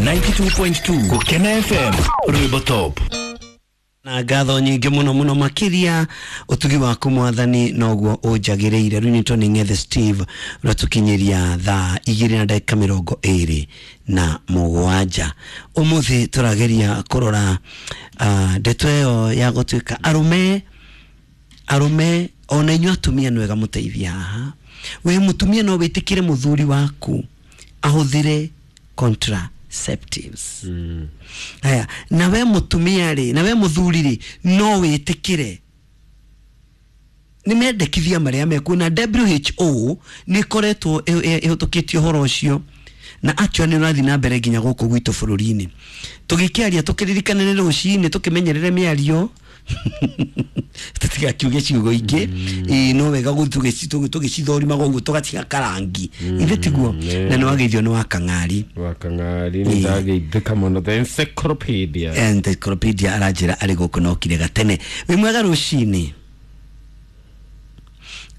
92.2 Gukena FM Rwimbo Top. Na ngatho nyingĩ mũno mũno makĩria ũtugi waku mwathani noguo ũnjagĩrĩire. Rĩu nĩ Tony Ng'ethe Steve ũratukinyĩria thaa 2:27. Ũmũthĩ tũrageria kũrora ndeto ĩyo ya gũtuĩka arũme arũme ona inyuĩ atumia nĩ wega mũteithie haha. We mũtumia no wĩtĩkĩre mũthuri waku ahũthĩre contraceptives. Haya, na we mutumia ri, na we muthuri ri, no witikire ni mendekithia maria mekuo na WHO ni koretwo ihutukitie uhoro ucio na actually ni urathi na mbere nginya guku gwitu bururi-ini. Tugikiaria tukiririkanire rucini tukimenyerere miario tutigakiuge ciugo ingĩ. No wega tugicithorimaga ũguo tũgatiga karangi ithe tiguo. Na nĩ wageithio nĩ Wakang'ari. Wakang'ari nĩ ndageithĩka mũno, the encyclopedia. Encyclopedia aranjĩra arĩ gũkũ na okire gatene. Wĩ mwega rũcinĩ.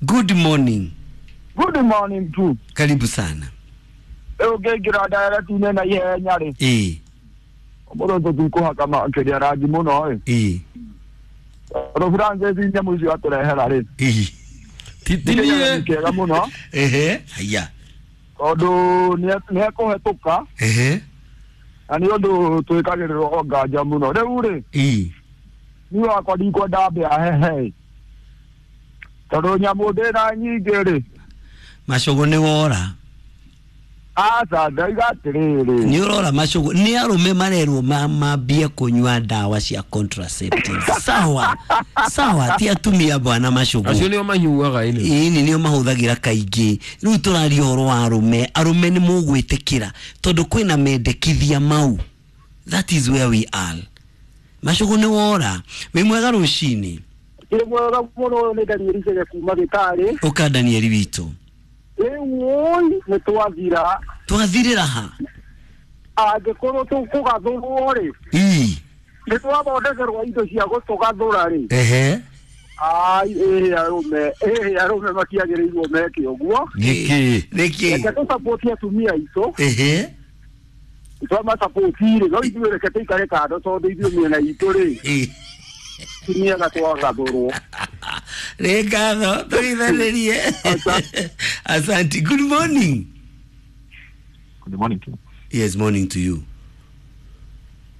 Good morning. Good morning too. Karibu sana. Rĩu ngĩingĩra ndareti-inĩ na ihenya rĩ, ũmũthĩ tũtikũhaka makĩria rangi mũno ĩ. Tondũ Francis nyamũ icio atũrehera rĩ, Titinie kĩega mũno. Ehe, haya. Tondũ nĩ ekũhetũka. Na nĩ ũndũ twĩkagĩrĩrwo nganja mũno. Rĩu rĩ, niĩ wakwa ndikwenda mbĩa hehe, tondũ nyamũ ndĩna nyingĩ rĩ. Macũgũ nĩ wora. Aca, ndaiga atĩrĩrĩ, Nĩ ũrora macũgũ nĩ arũme marerwo mambie kũnyua ndawa cia contraceptives. Sawa sawa, ti atumia bwana macũgũ. Acio nĩo manyuaga ĩnĩ. Ĩni nĩo mahũthagĩra kaingĩ. Rĩu tũraria ũhoro wa arũme. Arũme nĩ mũgwĩtĩkĩra tondũ kwĩna mendekithia mau. That is where we are. Macũgũ nĩ wora. Wĩ mwega rũcinĩ. Ĩ mwega mũno, nĩ Danieli Chege kuma Gĩtarĩ. Ũka Danieli witũ. Rĩu ũi nĩ twathira. Twathirĩra ha? Angĩkorwo tũkũgathũrwo rĩ, nĩ twathondekerwo indo cia gũtũgathũra rĩ. Ai, ĩhĩ arũme, ĩhĩ arũme matiagĩrĩirwo meke ũguo. Nĩkĩ? Nĩkĩ? Reke tũsapoti atumia aitũ. Twamasapoti rĩ, no ithuĩ reke tũikare kando tondũ ithuĩ mĩena itũ rĩ, tiniaga twagathũrwo. Nĩ ngatho tũithanĩrie. Asante. Good morning. Good morning to you. Yes, morning to you.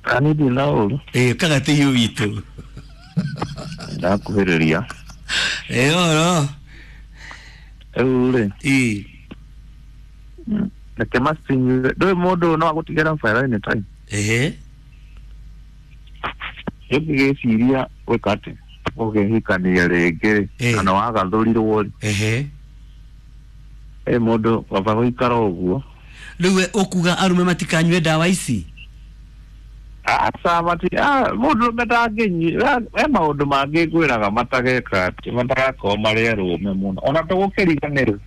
Ani ndina ũru. Kagatĩio witũ. Ndakuhĩrĩria. Oro. Rĩu rĩ, reke macinyue. Ndũĩ mũndũ no agũtigĩra bara anytime. Ũngĩgĩciria gwĩka atĩ ũkĩhikania rĩngĩ rĩ, kana wagathũrirwo rĩ, ĩ mũndũ baba gũikara ũguo. Rĩu we ũkuga arũme matikanyue ndawa ici? Aca, mati mũndũ ũrũme ndangĩnyua. He maũndũ mangĩ ngwĩraga matageka atĩ matagakorwo marĩ arũme mũno ona tũgũkĩriganĩrwo.